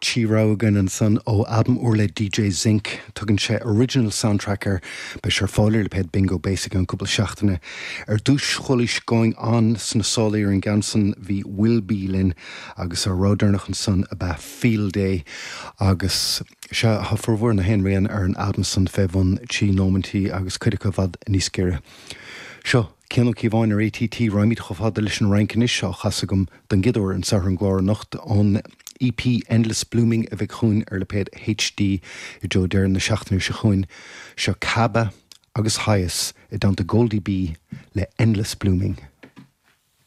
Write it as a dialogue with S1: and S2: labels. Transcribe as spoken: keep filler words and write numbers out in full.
S1: Trí rogha againn ansan ó albam úr le DJ Zinc tugann sé original soundtrack air beidh sé ar fáil ar lipéad Bingo Basic an cúpla seachtaine. Ar dtús chualaís Going On sna sála ar an gceann san bhí Will Be linn agus ar ródéarnach ansan ab ea Field Day agus sé tá formhór na haon ar an albam san fé bhun trí nóimintí agus cuid acu i bhfad níos giorra. Seo Cian Ó Cíobháin ar ATT raghaimid chomh fada leis an Fhrainc anois á chasadh agam don gcéad uair anseo ar an gclár anocht ón EP Endless Blooming a bheidh chugainn ar lipéad HD i dtreo deireadh na seachtaine seo chugainn seo Kaba agus Highas i dteannta Goldie B le Endless Blooming.